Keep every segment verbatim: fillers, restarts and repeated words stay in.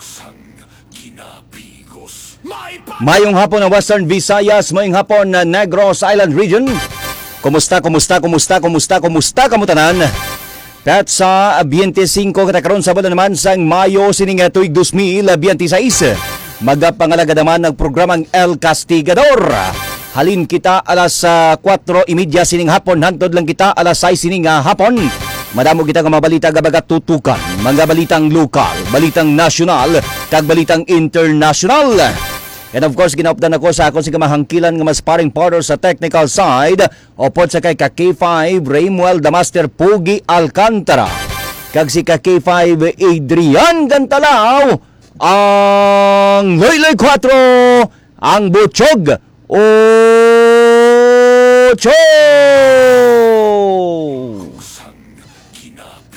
Sang ginapigos. May pa- Mayong hapon ang Western Visayas, mayong hapon na Negros Island Region. Kumusta, kumusta, kumusta, kumusta, kumusta kamo tanan? Petsa twenty-five kita karon sa bulan naman sang Mayo sining tuig dos mil biyente sais. Magapangalagad naman ang programang El Castigador. Halin kita alas ah, kuwatro y media sining hapon, hantod lang kita alas sais sining ah, hapon. Madamo kita nga mga balita nga magatutukan, mga balitang lokal, balitang nasyonal, kag balitang internasyonal. And of course, ginaupdan ako sa akon sing kamahangkilan nga mas paring partner sa technical side, upod sa kay ka K five, Raymuel the Master Pugi Alcantara, kag si ka K five, Adrian Gantalaw, ang Loyloy Kuwatro, ang Butchog Ocho.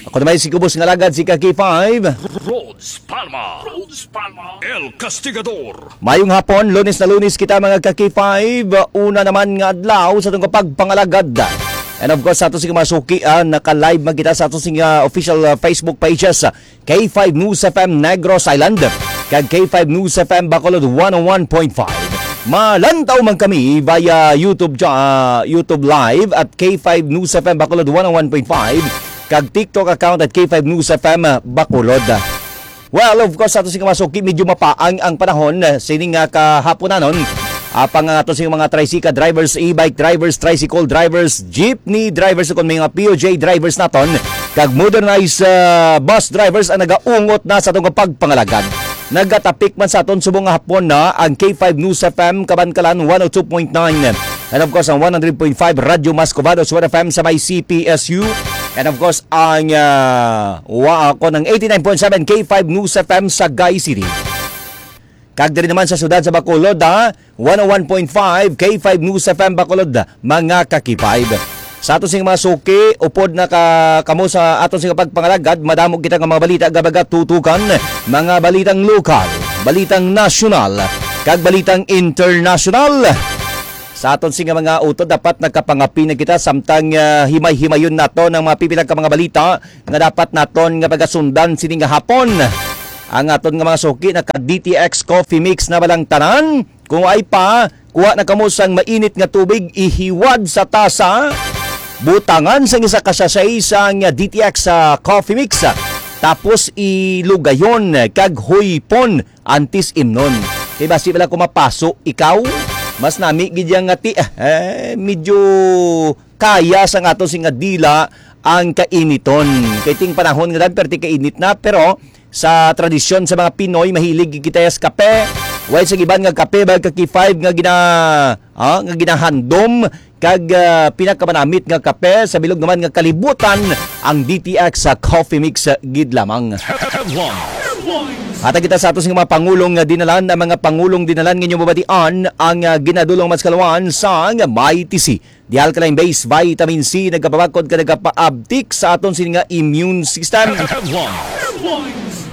Ako naman si Kubos nga lagad, si ka K five. Rhodes Palma. Rhodes Palma. El Castigador. Mayong hapon, Lunes na Lunes kita, mga ka K five. Una naman nga adlaw sa atong kapagpangalagad. And of course, sa ato sing mga suki, ah, naka-live man kita sa ato sing, ah, official, ah, Facebook pages, ah, K five News F M Negros Island, kag K five News F M Bacolod one oh one point five. Malantaw man kami via YouTube cha-, ah, YouTube Live at K five News F M Bacolod one oh one point five, kag TikTok account at K five News F M Bacolod. Well, of course, ato sing mga suki, medyo mapaang ang panahon, eh, sining nga kahaponanon. Apang ang ato sing mga tricycle drivers, e-bike drivers, tricycle drivers, jeepney drivers, kung may mga P O J drivers naton, kag modernized, ah, bus drivers ang nagaungot na sa atong pagpangalagad. Nagatapik man sa aton subong nga hapon na ang K five News F M Kabankalan one oh two point nine. And of course, ang one hundred point five Radyo Mas Covado, Suwed F M sa may C P S U. And of course, ang, ah, wa-, ako ng eighty-nine point seven K five News F M sa Sagay City. Kag diri naman sa siyudad sa Bacolod, ha? One oh one point five K five News F M Bacolod, mga ka K five. Sa ato sing mga suki, upod na ka, kamo sa ato sing pagpangalagad, madamo kita nga mga balita nga magatutukan, mga balitang lokal, balitang nasyonal, kag balitang internasyonal. Sa aton sing mga utod, dapat nagkapangapi na kita samtang, ah, himay-himayon naton ang mga pipila ka mga balita nga dapat naton nga pagasundan sini nga hapon. Ang aton nga mga suki, naka D T X Coffee Mix na ba lang tanan? Kung ay pa, kuha na kamo sang mainit nga tubig, ihiwad sa tasa, butangan sang isa ka sachet sang D T X sa Coffee Mix, tapos ilugayon kag huypon antes imnon. Kay basi bala ko mapaso ikaw, mas nami gid yang ngati, eh, medyo kaya sa aton sing dila ang kainiton. Kay ting panahon nga dan, perti kainit na, pero sa tradisyon sa mga Pinoy, mahilig kita sa kape. While sa iban nga kape, ba ka K five nga gina-, ah, nga ginahandom, kag, ah, pinakamanamit nga kape sa bilog naman nga kalibutan, ang D T X sa Coffee Mix, ah, gid lamang. Headlines. Hatag kita sa ato sing mga pangulong nga dinalan, ang mga pangulong dinalan nga inyo mabatian, ang, ah, ginadulong mas kaluan sa may T C. Di alkaline base vitamin C nagapabakod ka nagapaabtik sa aton sini nga immune system. Headlines.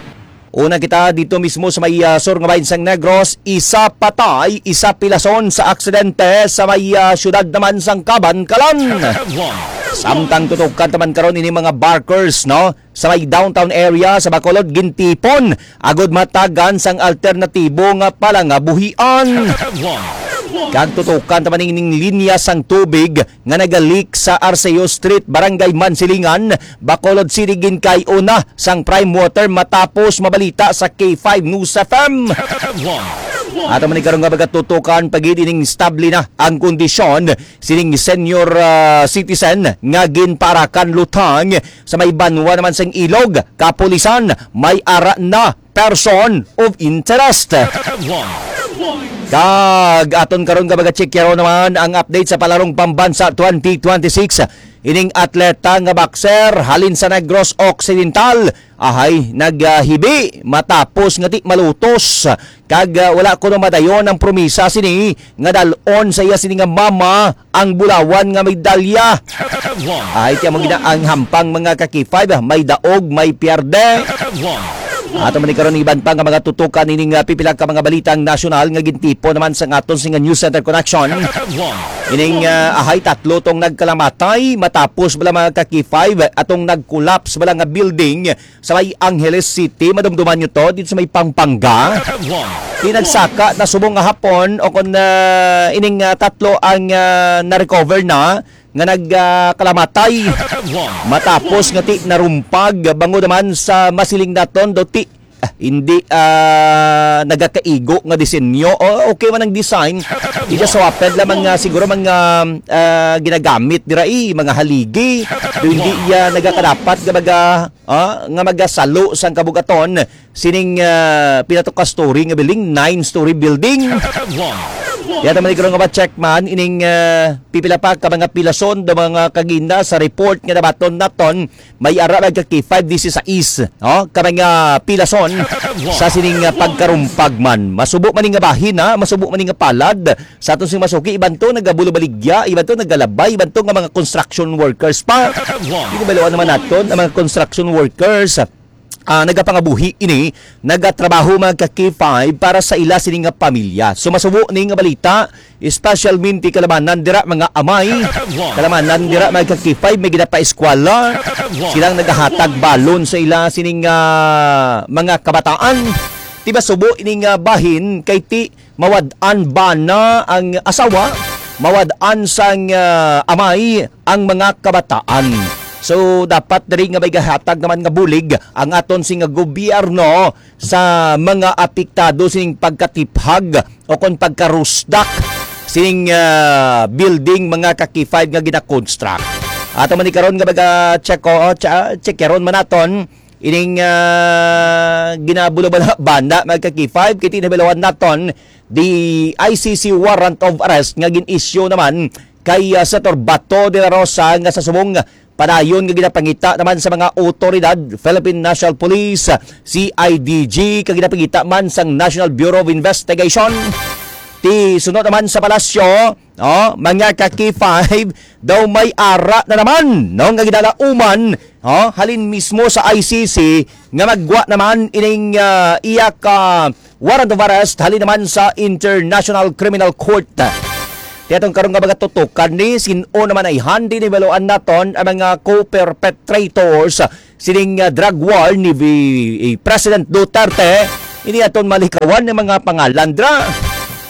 Una kita dito mismo sa may, ah, sur nga bahin sang Negros, isa patay, isa pilason sa aksidente sa may, ah, syudad naman sang Kabankalan. Headlines. Samtang tutukan taman karon ini mga barkers, no? Sa may downtown area sa Bacolod, gintipon agud matagan sang alternatibo nga palangabuhian. Kag tutukan ta man ining linya sang tubig nga nagalik sa Arceo Street, Barangay Mansilingan, Bacolod City, ginkay-o na sang prime water matapos mabalita sa K five News F M. Ato man ni karon nga magatutukan pagid ining stable na ang kondisyon sining senior, ah, citizen nga ginparakan lutang sa may banwa naman sang Ilog, Kapulisan, may ara na person of interest. Kag aton karon nga magacheck karon naman ang update sa Palarong Pambansa twenty twenty-six. Ining atleta nga boxer halin sa Negros Occidental, ahay, naghibi matapos nga di malutos. Kag, ah, wala kuno madayon ang promisa sini nga dal-on sa iya sini nga mama ang bulawan nga medalya. Ay, tiyan mo gina ang hampang mga ka K five, ah, may daog, may pierde. Ato man ni karon iban pa nga mga tutukan ining, ah, pipila ka mga balitang nasyonal nga gintipo naman sa aton sing News Center Connection. Ining, ah, ahay, tatlo tong nagkalamatay matapos bala, mga ka-K five, atong nag-collapse bala nga building sa may Angeles City. Madumduman nyo to dito sa may Pampanga. Di nagsaka na subong nga hapon o kon, ah, ining, ah, tatlo ang, ah, na-recover na nga nagkalamatay matapos nga ti narumpag bangod naman sa masiling naton do ti, ah, hindi, ah, nagakaigo nga disenyo. O, okay man ang design. Ida sa waped lamang nga siguro mga, ah, ginagamit dira, eh, mga haligi. Do hindi iya nagakadapat nga maga-, ah, nga magasalo sang kabugaton sining, ah, pila to ka story nga building, nine-story building. Yata man karon nga ma-check man ining, ah, pipila pa ka mga pilason do mga kagina sa report nga nabaton naton, may ara, mga ka-K five, disi sa East, no? Ka mga pilason sa sining, ah, pagkarumpag man. Masubo man ni nga bahin, ha? Masubo man ni nga palad. Sa aton sing masuki, iban to nagabulobaligya, iban to nagalabay, iban to nga mga construction workers pa. Hindi ba naman naton ang mga construction workers? Ah, nagapangabuhi ini, nagatrabaho, mga ka-K five, para sa ila sini nga pamilya. So, masubo ni nga balita, especialmente kalamanan dira, mga amay, kalamanan dira, mga ka-K five, may ginapaeskwela, silang nagahatag balon sa ila sining, ah, mga kabataan. Ti masubo ini nga bahin kay ti mawad-an bana ang asawa, mawad-an sang, ah, amay ang mga kabataan. So, dapat diri nga may gahatag naman nga bulig ang aton sing gobyerno sa mga apektado sining pagkatiphag o kon pagkarusdak sining, ah, building, mga ka-K five, nga gina-construct. Ato man ni karon nga baga check, o, cha-, check karon man naton ining, ah, ginabulabala banda, mga ka-K five, kay tinabilawan naton the I C C warrant of arrest nga gin-issue naman kay, ah, Senator Bato de la Rosa nga sa subong padayon nga ginapangita naman sa mga otoridad, Philippine National Police, C I D G, kag ginapangita man sang National Bureau of Investigation. Ti sunod naman sa palasyo, no, mga ka-K five, daw may ara na naman, no, nga ginalauman, no, halin mismo sa I C C nga maggwa naman ining, ah, iya ka warrant of arrest halin naman sa International Criminal Court. Ti atong karon nga mga tutukan ni sin-o naman ay handi ni baluan naton ang mga co-perpetrators sining, ah, drug war ni Vi-, eh, President Duterte. Ini aton malikawan ng mga pangalan dra.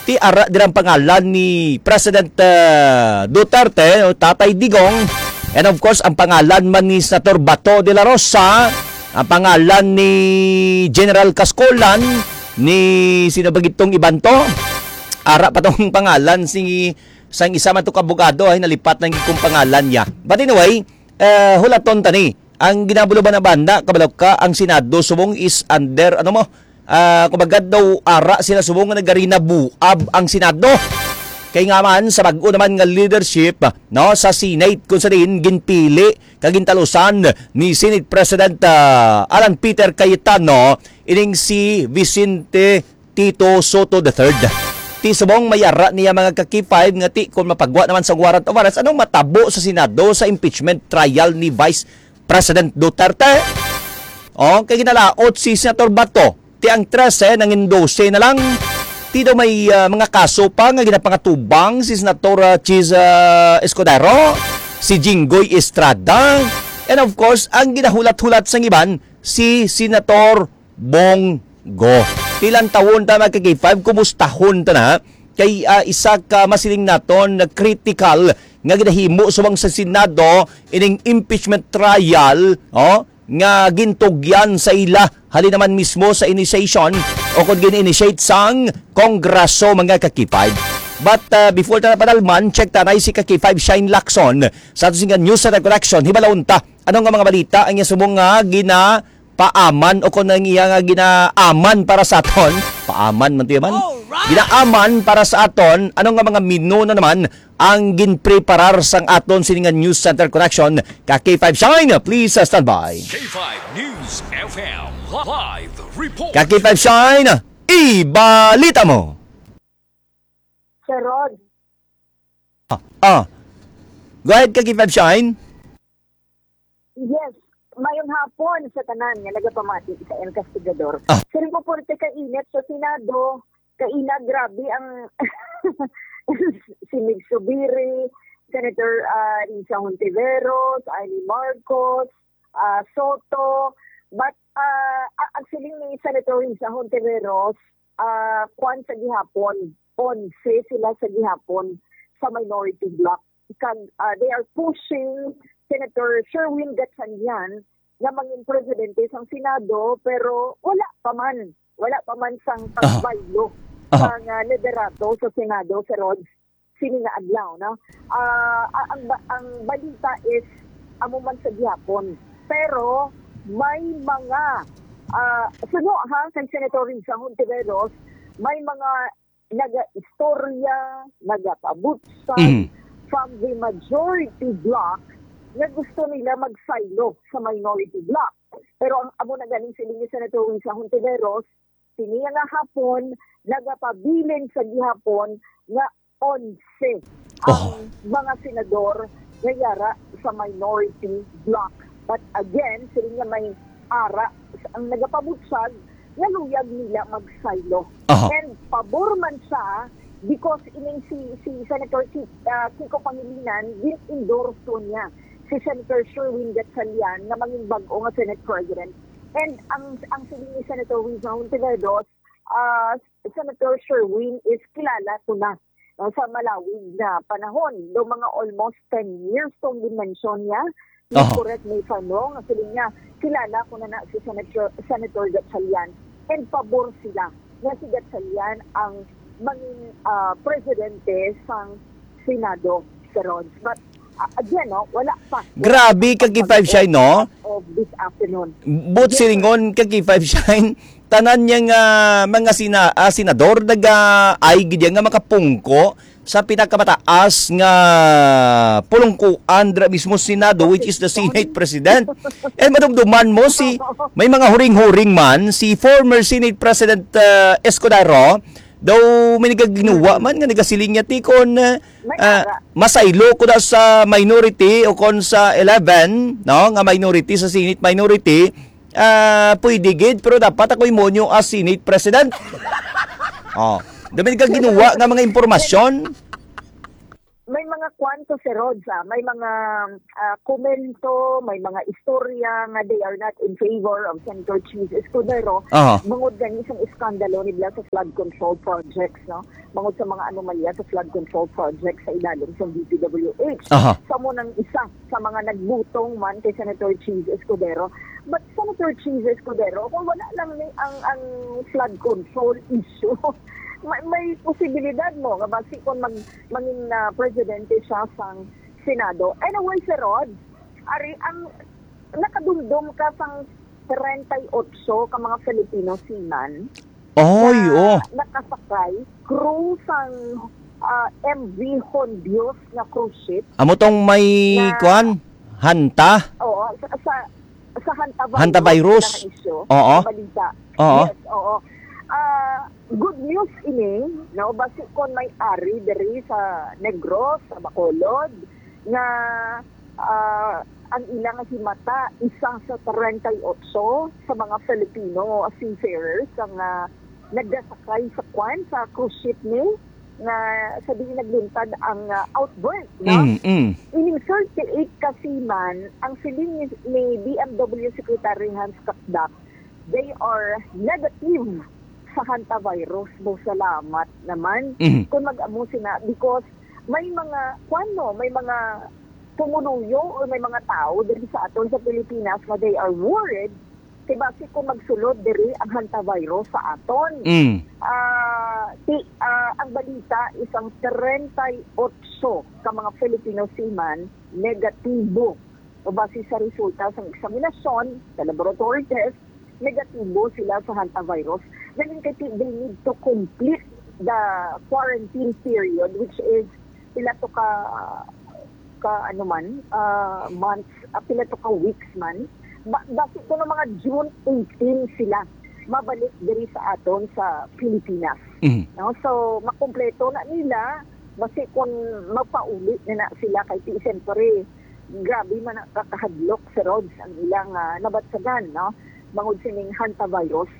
Ti ara dirang pangalan ni President, ah, Duterte, o Tatay Digong. And of course, ang pangalan man ni Senator Bato de la Rosa, ang pangalan ni General Cascolan, ni sino ba gitong iban to? Ara pa tong pangalan si sang isa man to ka abogado ay nalipat lang kung pangalan niya. But anyway, eh, hulaton tani. Ang ginabulo ba na banda, kabalo ka, ang Senado subong is under, ano mo, ah, kumbaga daw ara sila subong nga nagarinabuab ang Senado. Kay nga man, sa bag-o naman nga leadership, no, sa Senate, kung sa diin ginpili kag gintalusan ni Senate President, ah, Alan Peter Cayetano, ining si Vicente Tito Sotto the third. Ti subong may ara niya, mga ka-K five, nga ti kon mapagwa naman sa warrant of arrest, anong matabo sa Senado sa impeachment trial ni Vice President Duterte? O, kay ginalaot si Senator Bato. Ti ang trese nangin dose na lang. Ti daw may, ah, mga kaso pa nga ginapangatubang si Senator, ah, Chiz, ah, Escudero, si Jinggoy Estrada, and of course, ang ginahulat-hulat sang iban, si Senator Bong Go. Ti lantawon ta, mga ka-K five, kumustahon ta na kay, ah, isa ka masiling naton na critical nga ginahimo subong sa Senado ining impeachment trial, oh, nga gintugyan sa ila halin naman mismo sa initiation o kon gin-initiate sang Kongreso, mga ka-K five. But, ah, before ta napadalman, check ta na si ka-K five Shine Lacson sa ato sing News Center Connection. Hibalon ta ano nga mga balita ang iya subong nga gina paaman o kon ang iya nga ginaaman para sa aton. Paaman man to yaman. Alright! Ginaaman para sa aton, ano nga mga menu na naman ang ginpreparar sang aton sini nga News Center Connection? Ka K five Shine, please, uh, stand by. K five News F M live report. Ka K five Shine, ibalita mo. Sir Rod. Ah, ah. Go ahead, ka K five Shine. Yes. Mayong hapon sa tanan nga nagapamati sa El Castigador. Ah. Siling ko, puwerte ka init sa Senado. Kaina, grabe ang si Mig Zubiri, Senator, ah, Risa Hontiveros, Amy Marcos, ah, Soto. But, ah, a-, ang siling ni Senator Risa Hontiveros, ah, kwan sa gihapon, onse sila sa gihapon sa minority bloc. Kag, ah, they are pushing Senator Sherwin Gatchalian nga mangin presidente sang Senado, pero wala pa man, wala pa man sang Aha. pagbaylo Aha. sang, ah, liderato sa Senado, Sir Rod, sini nga adlaw, no? Ah, a-, ang ba-, ang balita is amo man sa gihapon. Pero may mga, ah, suno ha kay Senator Risa Hontiveros, may mga nagaistorya, nagapabutsag Mhm. from the majority bloc nga gusto nila magsaylo sa minority bloc. Pero ang amo na ganing siling ni Senator Risa Hontiveros, sini nga hapon, nagapabilin sa gihapon nga onse Oh. ang mga senador nga yara sa minority bloc. But again, siling nga may ara ang nagapabutsag nga luyag nila magsaylo. Aha. And pabor man siya because ining si, si Senator Ki-, ah, Kiko Pangilinan, gin-endorso niya si Senator Sherwin Gatchalian nga mangin bag-o nga Senate President. And ang, ang siling ni Senator Risa Hontiveros, ah, Senator Sherwin is kilala ko na, no, sa malawig na panahon. Do mga almost ten years tong dimension niya. Please Aha. correct me if I'm wrong. Ang siling niya, kilala ko na na si Senator, Senator Gatchalian. And pabor sila nga si Gatchalian ang mangin, ah, presidente sang Senado, Sir Rog. But, ah, again, no, wala pa. Wala Grabe pa ka, K five Shine, no? Of this afternoon. But Yes, sir. silingon ka, K five Shine, tanan niya nga mga sina-, ah, senador, naga-, ay gid nga makapungko sa pinakamataas nga pulungkuan dira mismo Senado, which is the Senate President. And madumduman mo si, may mga huring-huring man, si former Senate President, ah, Escudero, daw may nagaginuwa man nga nagasiling niya, "Ti kon, ah, May ah, ara. masaylo ko na sa minority o kon sa eleven, no, nga minority, sa Senate minority, ah, pwede gid, pero dapat ako imonyo as Senate President." Oh, dami ka ginuwa nga mga impormasyon. May mga kwanto, Sir Rog, ah. May mga, ah, komento, may mga istorya nga they are not in favor of Senator Chiz Escudero. Aha. Bangod gani sang iskandalo nila sa flood control projects, no? Bangod sa mga anomalya sa flood control projects sa ilalom sa D P W H. Aha. Sa mo nang isa sa mga nagbutong man kay Senator Chiz Escudero. But Senator Chiz Escudero, kung wala lang ni ang, ang flood control issue, may, may posibilidad mo nga basi kung mag-, mangin, ah, presidente siya sang Senado. Anyway, Sir Rod, ari ang nakadumdom ka sang treinta y ocho ka mga Filipino seaman Oy, na oh. nakasakay crew sang, ah, M V Hondios nga cruise ship. Amo tong may Na kuan? Hanta? Oo, sa, sa, sa hantavirus, Hantavirus? na isyu, Oo. sa balita. Oo. Yes, oo. Ah, good news ini, no? Basi kon may ari diri sa Negros, sa Bacolod, nga, ah, ang ilang himata, isa sa treinta y ocho sa mga Filipino seafarers ang, ah, nagdasakay sa kwan, sa cruise ship ni, nga sa diin nagluntad ang, ah, outbreak, no? Mm, mm. Ining thirty-eight ka seaman, ang siling ni, ni B M W Secretary Hans Cacdac, they are negative sa hantavirus. Mo salamat naman Mhm. kung mag-amo sina, because may mga, kwan, no, may mga pumuluyo or may mga tao diri sa aton sa Pilipinas nga they are worried kay basi kung magsulod diri ang hantavirus sa aton. Mm. Ah, ti-, ah, ang balita, isang treinta y ocho ka mga Filipino seaman negatibo. O base sa resulta sa eksaminasyon, sa laboratory test, negatibo sila sa hantavirus. Galing kay ti-, they need to complete the quarantine period, which is pila to ka, ka ano man, ah, months, ah, pila to ka weeks man. Ba-, basi kuno mga June eighteen sila mabalik diri sa aton sa Pilipinas. Mhm. No? So, makumpleto na nila, basi kung magpauli na na sila kay ti-, siyempre, Grabe man ang kakahadlok, Sir Rods, ang ilang, ah, nabatsagan, no? Bangod sining hantavirus.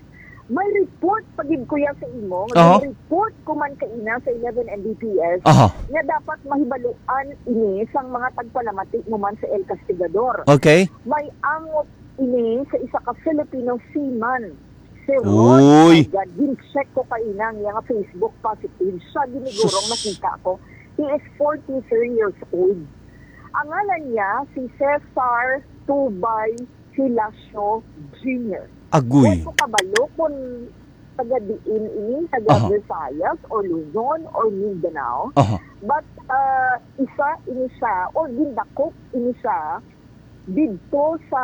May report pa gid, kuya, sa imo, nga Aha. report ko man kaina sa eleven M B P S Aha. nga dapat mahibaluan ini sang mga tagpalamati mo man sa El Castigador. Okay. May angot ini sa isa ka Filipino seaman. Sir Rods, Uy. my God, gin-check ko kaina ang iyang Facebook positive. Siya ginigurong Sus. nakita ko. He is forty-three years old. Ang ngalan niya si Cesar Tubay Hilacio Junior. Agoy. Wa ko kabalo kung taga diin ini, taga Aha. Visayas or Luzon or Mindanao. Aha. But, uh, isa ini siya, or gindakop ini siya, didto sa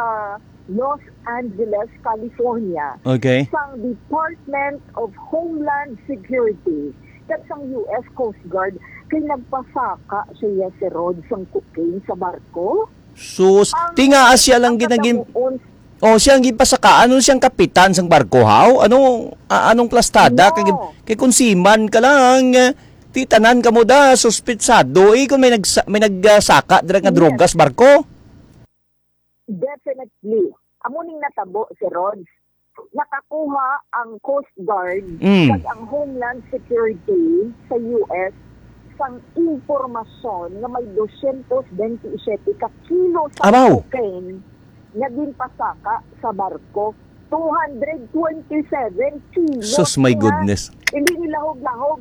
Los Angeles, California, Okay. sang Department of Homeland Security kag sang U S Coast Guard, kay nagpasaka siya, Sir Rod, sang cocaine sa barko. Sus, Ang tingaa siya lang ang ginagin-, katamuon, oh, siya ang gipasakaan. Ano siyang kapitan sang barko, haw? Ano, a-, anong plastada? No. Kay, kay kung seaman ka lang, eh, ti tanan ka mo da, suspitsado. Eh, kung may nagsa-, may nagsaka dira nga Yes. drogas barko? Definitely. Amo ning natabo, Sir Rod. Nakakuha ang Coast Guard Mm. kag ang Homeland Security sa U S sang impormasyon nga may dosyentos bentisiete ka kilo sa Abaw! cocaine nga ginpasaka sa barko. Two hundred twenty-seven kilo. Sus, my Nga goodness. Hindi nilahog-lahog.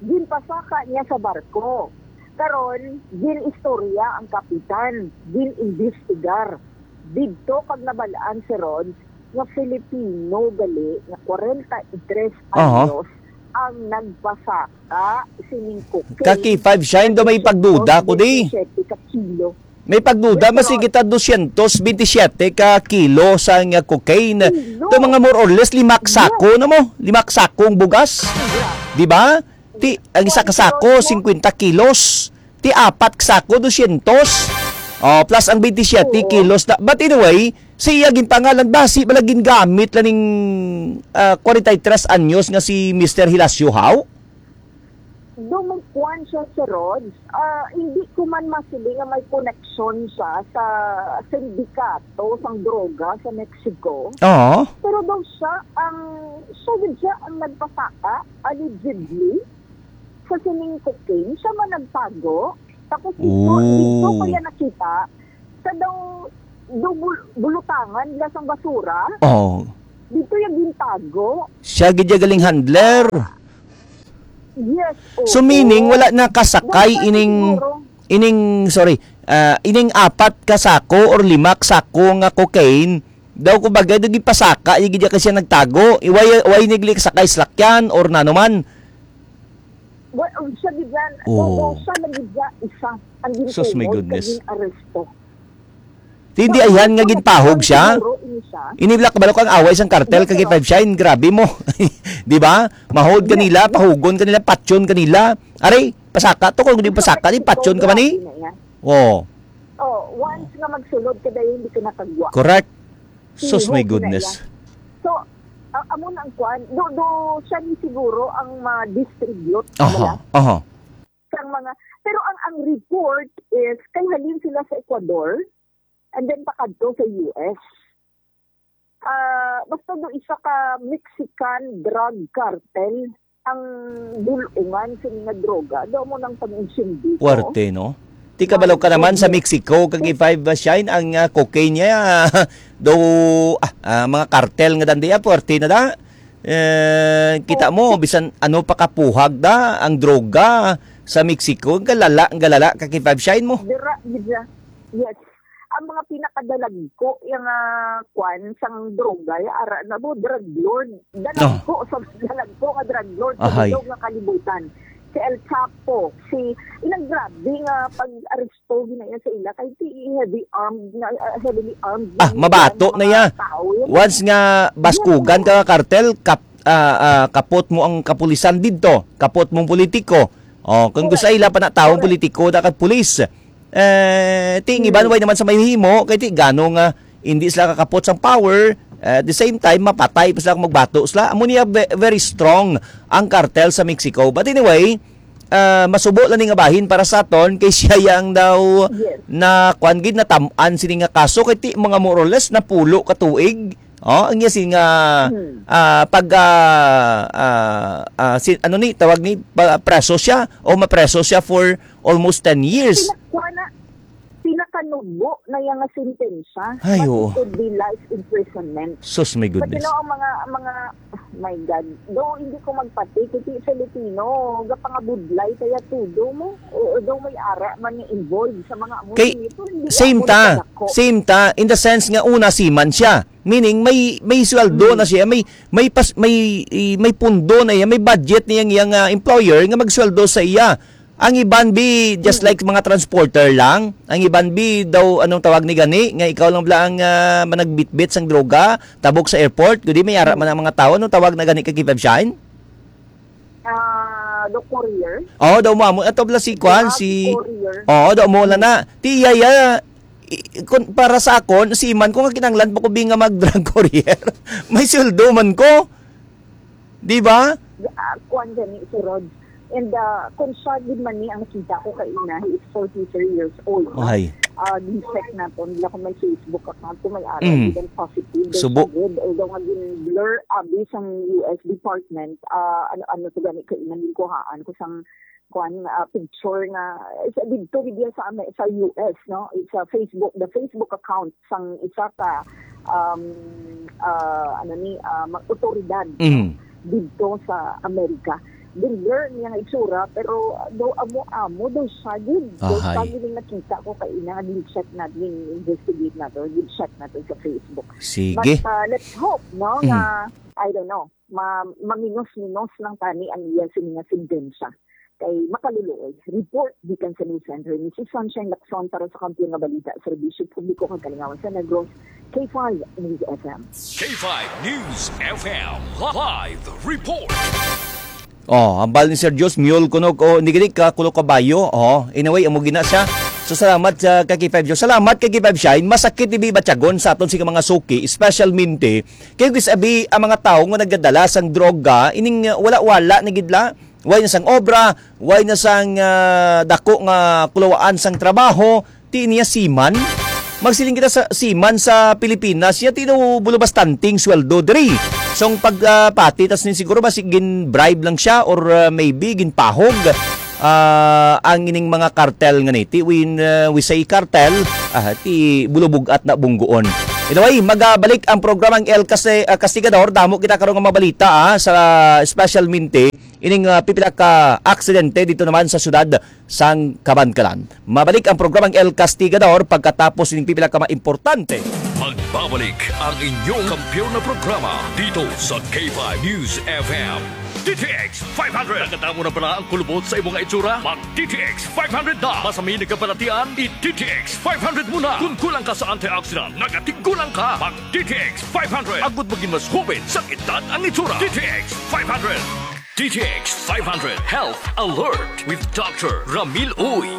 Ginpasaka niya sa barko. Karon, gin-istorya ang kapitan, gin-imbestigar. Didto kag nabalaan, Sir Rod, nga Filipino gali nga kwarenta y tres Aha. anyos ang nagpasaka sining cocaine. Ka K five Shine, do may pagduda ko di. Dosyentos bentisiete ka kilo. May pagduda, Yes, masi Lord. kita dosyentos bentisiete ka kilo sa nga cocaine. Kilo. Ito mga more or less, lima ka sako Yes. na mo. Lima ka sakong bugas. Di ba? Ti, ang isa ka sako, singkwenta kilos. Ti, apat ka sako, dosyentos. Oh, plus ang bentisiete Oo. kilos na. But anyway, siya ginpangalan, basi bala gingamit lang ning, ah, kwarenta y tres anyos nga si Mister Hilasio, haw? Dumugkuan siya, Sir Rod. Ah, hindi ko man masiling nga may koneksyon siya sa sindikato sang droga sa Mexico. Oo. Pero daw siya ang, siya gid siya ang nagpasaka, allegedly, sa sining cocaine. Siya man nagtago. Tapos dito, Oh. dito ko niya nakita, sa daw, daw bul-, bulutangan nila sang basura. Oh. Dito yung gintago. Siya gid ya galing handler. Yes, So, oo. meaning, wala na kasakay Dapat ining, siguro. ining, sorry, ah, ining apat ka sako or lima ka sako nga cocaine, daw, kumbaga, daw gipasaka, yung gid kasi nagtago. Why, why nagli kasakay salakyan or nano man? Well, um, siya gid yan. Oo. Oo, siya na gid ya isa ang Sus, my gintuhod goodness. kag gin-aresto. Di, hindi So, ayhan nga ito, ginpahog ito siya? siguro, ini siya. Ini bala kabalo kang away sang kartel Yes, kag sir. K five Shine, grabe mo. Di ba? Mahod Yes, kanila, yes. pahugon kanila, patyon kanila. Aray, pasaka to, kung di Ito, pasaka, di ito, patyon ka man eh. grabe na yan. Oo. Oh, once nga magsulod ka dahil hindi ka nakagwa. Correct. Sus, my Tihog na goodness. iya. So, a-, amo na ang kwan. Do, do, siya ni siguro ang ma-distribute, Aha, wala? aha. Sang mga, pero ang, ang report is, kay halin sila sa Ecuador, and then pakadto sa U S. Ah, basta do isa ka Mexican drug cartel ang bulungan sa mga droga. Do mo nang pag-insindi ko. Puwerte, no? Ti kabalo ka naman sa Goodness. Mexico, kag K five Shine, ang, ah, cocaine niya, do, ah, ah, mga kartel nga dandiya, puwerte na da. Eh, kita mo, Oh. bisan ano pa kapuhag da, ang droga sa Mexico, ang galala, ang galala, kag K five Shine mo. Dira, dira. Yes. Ang mga pinakadalagko, yung, ah, kwan, sang droga, yung ara na mo, drug lord. Dalagko, Oh. sa dalagko nga drug lord, sa Ahay. bilog nga kalibutan. Si El Chapo, si, ilang grabe nga pag-aresto, ginaya sa ila, kay ti heavy armed, na, ah, heavily armed Ah, na mabato mga na ya. tao yun. Once nga baskugan Yes. ka nga kartel, kap-, ah, ah, kapot mo ang kapulisan didto, kapot mong politiko. Oh, kung gusto Correct. ila pa na taong Correct. politiko na kag pulis. Eh, ti ang iban, Yes. way naman sa may himo, kay ti gano nga hindi sila kakapot sang power, eh, at the same time, mapatay pa sila kung magbato sila. Amo niya ve-, very strong ang kartel sa Mexico. But anyway, ah, masubo lang ni nga bahin para sa aton kay siya yang daw Yes. na kuan gid natam-an sini nga kaso kay ti mga more or less napulo ka tuig. Oh, ang iya sini nga Hmm. ah, pag ah, ah, ah, si, ano ni tawag ni pa, preso siya o mapreso siya for almost ten years. Pinakuha na, pinakanugbo na iya nga sentensya. Ay, But oo. It could be life imprisonment. Sus, my But you goodness. know, ang mga, mga, my God, though hindi ko magpati, kasi Filipino, gapangabudlay kaya tudo mo, o, o daw may ara man nga involved sa mga amo Kay, sini, pero hindi same ako ta, nakadako. same ta, in the sense nga una seaman siya. Meaning, may, may sweldo Hmm. na siya, may, may, pas, may, i- may pundo na iya, may budget niya ang iyang ah, employer nga magsweldo sa iya. Ang iban bi just like mga transporter lang. Ang iban bi daw anong tawag ni gani nga ikaw lang bala ang ah, managbitbit sang droga tabok sa airport, gudi may ara man ang mga tawo. Anong tawag na gani kay Kevin Shine? Ah, the courier? Oo, daw mo amo ato bala si Kwan, Grabe, si courier. Oo, daw mo lang na. Ti iya iya i- kun, para sa akon, si man ko nga kinahanglan pa ko bi nga mag drug courier. May sweldo man ko. Di ba? Ah, kuwan gani, si Rod. And uh, kung siya gid man ni ang nakita ko kaina, he is forty-three years old. No? Ay. Uh, gi-check naton, bila kung may Facebook account, kung may ara, Mm. even positive, Subo. Good. Although nga gin-blur abi sang U S department, uh, ano, ano to gani kaina, ginkuhaan ko sang kuan, ah, picture nga sa didto gid sa Ame- sa U S, no? It's a Facebook, the Facebook account sang isa ka um uh, ano ni uh, mga otoridad Mm. didto sa Amerika. Din-blur niya nga itsura, pero daw amo-amo daw siya gid. Daw siya Ahay. Gid ang nakita ko kay ina, din-check na, din-investigate na to, din-check na to sa Facebook. Sige. But uh, let's hope, no, Mm. nga, I don't know, ma maminos-minos lang tani ang iya sini nga sentensya. Kay makaluluoy. Report gikan sa News Center ni si Sunshine Lacson para sa Kampiyon nga Balita, Serbisyo Publiko kag Kalingawan sa Negros, K five News F M. K five News F M live report. Oh, hambal ni Sir Dios, mule kuno ko, hindi gani ka kulo kabayo. Oh, in a way, amo gina siya. So, salamat sa kay K five Dios. Salamat kay K five Shine. Masakit ibi batyagon sa aton sa mga suki, especially minti. Kay guys, abi, ang mga tawo nga nagdadala sang droga, ining uh, wala-wala na gid la. Way na sang obra, way na sang ah, dako nga kulawaan sang trabaho, ti niya seaman. Magsiling kita sa seaman sa Pilipinas, ya ti daw bulo bastanting sweldo diri. So ang pagpati tas ni siguro basi gin-bribe lang siya or ah, maybe ginpahog ah, ang ining mga kartel nga ni. Ti when ah, we say kartel, ah, ti bulubog at na bungguon. Anyway, magabalik ang programang El Case- ah, Castigador. Damo kita karon nga mabalita ah, sa special minti. Ining ah, pipila ka aksidente dito naman sa siyudad sang Kabankalan. Mabalik ang programang El Castigador pagkatapos ining pipila ka mga importante. Magbabalik ang inyong kampiyon na programa dito sa K five News F M. D T X five hundred. Nakatamo na pala ang kulubot sa imong itsura? Mag D T X five hundred na. Masami nagkabalatian, i D T X five hundred muna. Kung kulang ka sa antioxidant, nagatiggulang ka. Mag D T X five hundred. Agud maging mas hubin sa edad ang itsura. D T X five hundred. D T X five hundred Health Alert with Doctor Ramil Uy.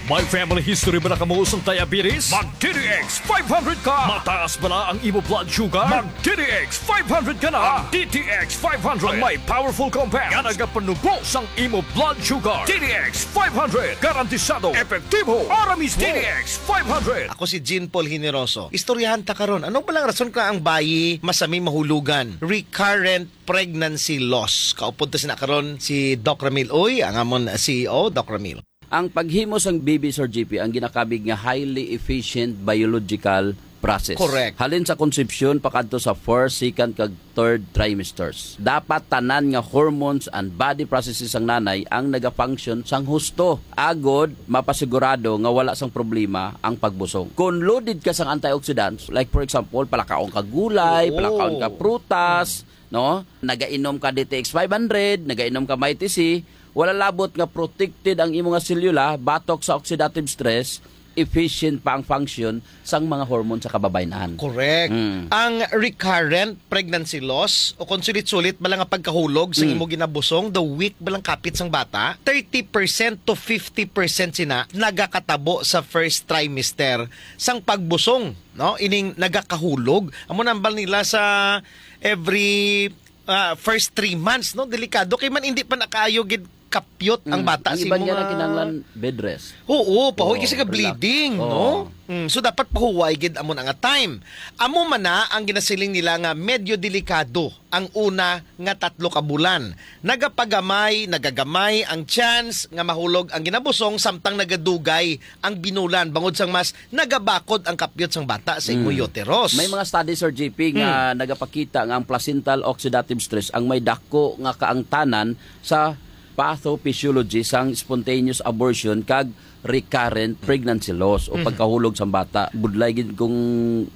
May family history ba na kamo sang diabetes? Mag D T X five hundred ka! Mataas ba na ang imo blood sugar? Mag D T X five hundred ka na! Ang D T X five hundred ang may powerful compound nga nagapanubo sang imo blood sugar. D T X five hundred, garantisado, epektibo, ora mismo. D T X five hundred. Ako si Jean Paul Generoso. Istoryahan ta karon. Ano ba lang rason ka ang bayi masami mahulugan? Recurrent pregnancy loss. Kaupod ta sina karon si Doc Ramil Uy, ang amon C E O, Doc Ramil. Ang paghimo sang baby, Sir G P, ang ginakabig nga highly efficient biological process. Correct. Halin sa konsepsyon pakadto sa first, second, kag third trimesters. Dapat tanan nga hormones and body processes sang nanay ang nagafunction sang husto, agod mapasigurado nga wala sang problema ang pagbusong. Kung loaded ka sang antioxidants, like for example, palakaon ka gulay, Oo. palakaon ka prutas, no? Nagainom ka D T X five hundred, nagainom ka Mighty C, wala labot nga protected ang imo nga selula batok sa oxidative stress, efficient pa ang function sang mga hormone sa kababayen-an. Correct. Mm. Ang recurrent pregnancy loss o kung sulit-sulit ba lang ang pagkahulog sa Mm. imo ginabusong, the weak ba lang kapit sang bata, thirty percent to fifty percent sina nagakatabo sa first trimester sang pagbusong, no? Ining nagakahulog. Amo nambal nila sa every ah, first three months, no? Delikado kay man hindi pa nakaayo gid kapyot ang Mm, bata ang sa iban imo niya nga na kinahanglan bed rest. Oo, pahuway Oo, kasi ka relax. bleeding, Oo. no? Mm, so dapat pahuway gid amo na nga time. Amo man na ang ginasiling nila nga medyo delikado ang una nga tatlo ka bulan. Nagapagamay, nagagamay ang chance nga mahulog ang ginabusong samtang nagadugay ang binulan bangod sang mas nagabakod ang kapyot sang bata sa imo Mm. uterus. May mga study, Sir G P, nga Hmm. nagapakita nga ang placental oxidative stress ang may dako nga kaangtanan sa pathophysiology sang spontaneous abortion kag recurrent pregnancy loss o Mhm. pagkahulog sang bata. Budlay gid kung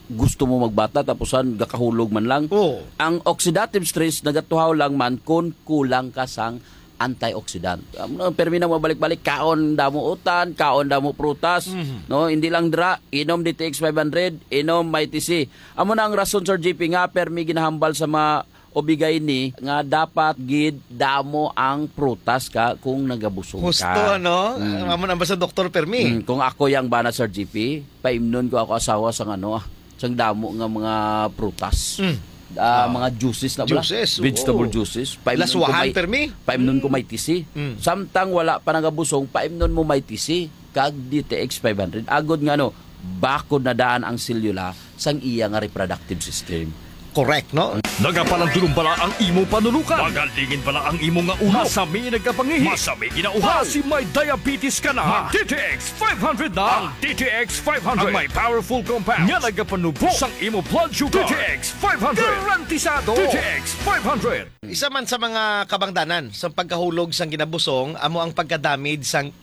gusto mo magbata tapusan gakahulog man lang. Oo. Ang oxidative stress nagatuhaw lang man kon kulang ka sang antioxidant. Amo na, permi na mabalik-balik, kaon damo utan, kaon damo prutas, Mhm. no? Hindi lang dira, inom D T X five hundred, inom Mighty C. Amo na ang rason, Sir G P, nga permi ginahambal sa mga O B G Y N nga dapat gid damo ang prutas ka kung nagabusog Husto, ka. ano? Mm. Amo na ba sa doktor, Permi? Mm, kung ako yang bana, Sir G P, paimnon ko ako asawa sang ano, ah, sang damo nga mga prutas. Mm. Ah, Ah. mga juices na bala. Juices, oo. Vegetable juices. Paimnon ko Laswahan, may, Permi? paimnon ko Mm. may tisi. Mm. Samtang wala pa nagabusog, paimnon mo may tisi. Kag D T X five hundred. Agod nga, ano, bakod na daan ang selula sang iya nga reproductive system. Correct, no? Nagapalandulong bala ang imo panulukan? Magalingin bala ang imo nga ulo? Masami nagkapangihi? Masami ginauhaw? Basi may diabetes ka na? Mag D T X five hundred na! Ang D T X five hundred ang may powerful compound nga nagapanubo sang imo blood sugar. D T X five hundred. Garantisado! D T X five hundred. Isa man sa mga kabangdanan sa pagkahulog sang ginabusong amo ang pagka-damage sang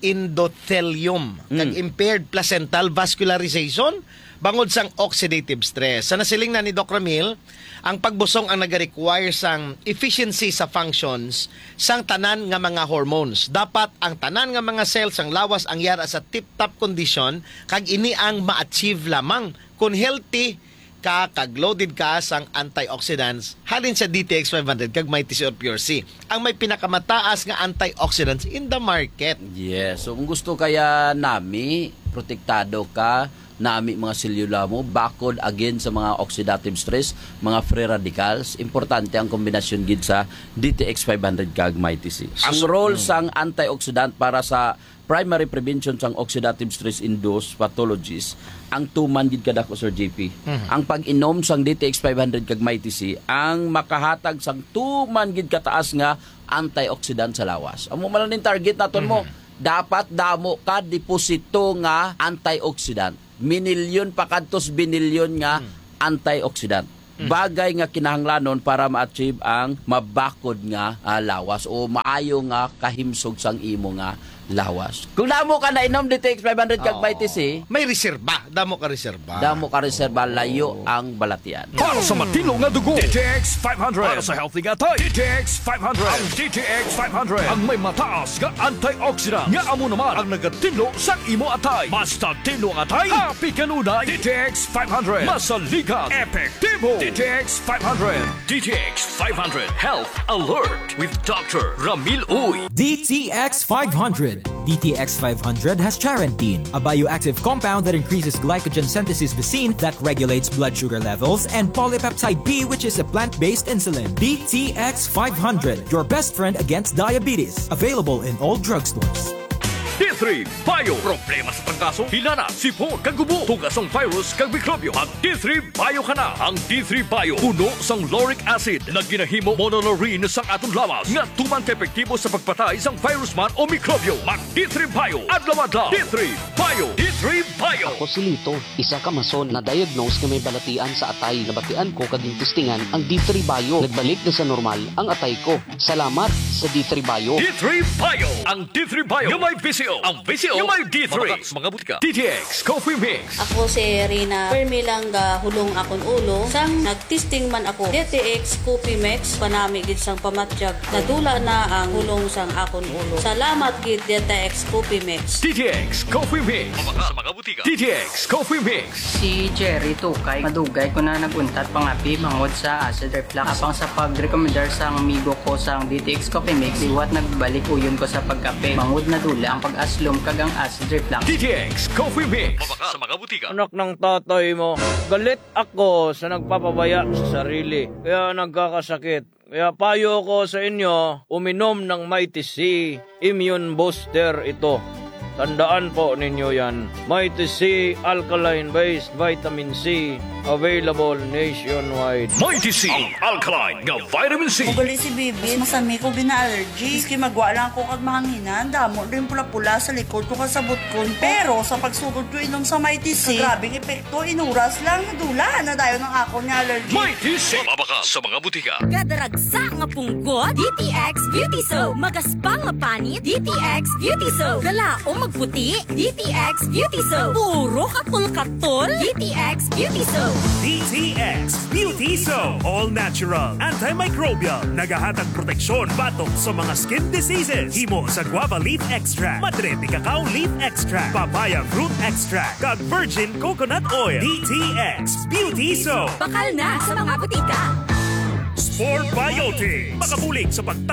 endothelium kag Mm. impaired placental vascularization bangod sang oxidative stress. Sa nasiling na ni Doc Ramil, ang pagbusong ang nag-require sang efficiency sa functions sang tanan nga mga hormones. Dapat ang tanan nga mga cell sang lawas ang yara sa tip-top condition kag ini ang ma-achieve lamang kon healthy ka kag loaded ka sang antioxidants halin sa D T X five hundred kag Mighty C or Pure C, ang may pinakamataas nga antioxidants in the market. Yes. So, kung gusto kaya nami, protektado ka, nami mga selula mo, bakod again sa mga oxidative stress, mga free radicals, importante ang kombinasyon gid sa D T X five hundred kag Mighty C. Ang Sus- role Mm. sang antioxidant para sa primary prevention sang oxidative stress-induced pathologies, ang tuman gid kadako, Sir J P. Mhm. Ang pag-inom sang D T X five hundred kag Mighty C ang makahatag sang tuman gid kataas nga antioxidant sa lawas. Amo man lang ning target naton mo. Mhm. Dapat damo ka deposito nga antioxidant. Minilyon pa kadtos binilyon nga Hmm. antioxidant. Mm. Bagay nga kinahanglanon para ma-achieve ang mabakod nga, ah, lawas o maayo nga kahimsog sang imo nga lawas. Kung damo ka nainom D T X five hundred kag Oo. Mighty C, may reserba. Damo ka reserba. Damo ka reserba, layo Oo. ang balatian. Para sa matinlo nga dugo, D T X five hundred. Para sa healthy nga atay, D T X five hundred. Ang D T X five hundred ang may mataas nga antioxidant nga amo naman ang nagatinlo sa imo atay. Basta tinlo ang atay, happy kanunay. D T X five hundred. Masaligan. Epektibo. D T X five hundred. D T X five hundred Health Alert with Doctor Ramil Uy. D T X five hundred. D T X five hundred has charantine, a bioactive compound that increases glycogen synthesis B C I N that regulates blood sugar levels, and polypeptide B, which is a plant-based insulin. D T X five hundred, your best friend against diabetes. Available in all drugstores. D three Bio. Problema sa trangkaso, hilanat, sipon, kag gubo, tugas sang virus kag mikrobyo. Mag D three Bio ka na. Ang D three Bio puno sang lauric acid nga ginahimo monolaurin sang aton lawas nga tuman ka epektibo sa pagpatay sang virus man o mikrobyo. Mag D three Bio adlaw-adlaw. D three Bio. D three Bio. Ako si Lito, isa ka mason na diagnose nga may balatian sa atay. Nabatian ko kag gintistingan ang D three Bio. Nagbalik na sa normal ang atay ko. Salamat sa D three Bio. D three Bio. Ang D three Bio nga may V C O. Ang V C O nga may D three. Mabakal sa mga butika. D T X Coffee Mix. Ako si Rina. Permi lang gahulong akon ulo. Sang nagtesting man ako, D T X Coffee Mix, panami gid sang pamatyag. Nadula na ang hulong sang akon ulo. Salamat gid, D T X Coffee Mix. D T X Coffee Mix. Mabakal sa mga butika. D T X Coffee Mix. Si Jerry Tukay, madugay ko na nag-untat pangapi bangod sa acid reflux. Apang sa pagrekomendar sang amigo ko sang D T X Coffee Mix, liwat nagbalik uyon ko sa pagkape. Bangod nadula ang pag-aslom kag ang acid reflux. D T X Coffee Mix. Mabakal sa mga butika. Anak ng tatay mo, galit ako sa nagpapabaya sa sarili, kaya nagkakasakit. Kaya payo ko sa inyo, uminom ng Mighty C Immune Booster ito. Tandaan po ninyo yan. Mighty C Alkaline Based Vitamin C, available nationwide. Mighty C, ang alkaline nga vitamin C. Ugali si Bibi, masami ko gina-allergy. Maski magwa lang ako kag mahanginan, damo din pula-pula sa likod ko kag sa butkon ko. Pero sa pagsugod ko inom sa Mighty C, grabing epekto, inuras lang, nadula na dayon ang akon nga allergy. Mighty C. Mabakal sa mga butika. Kada ragsa nga punggot, D T X Beauty Soap. Magaspang nga panit, D T X Beauty Soap. Kalaom magputi, D T X Beauty Soap. Puro katol-katol, D T X Beauty Soap. D T X Beauty Soap. All natural, antimicrobial. Nagahatag proteksyon batok sa mga skin diseases. Himo sa guava leaf extract, madre de cacao leaf extract, papaya fruit extract, kag virgin coconut oil. D T X Beauty Soap. Bakal na sa mga butika. Sport Biotic. Makabulig sa pagtap-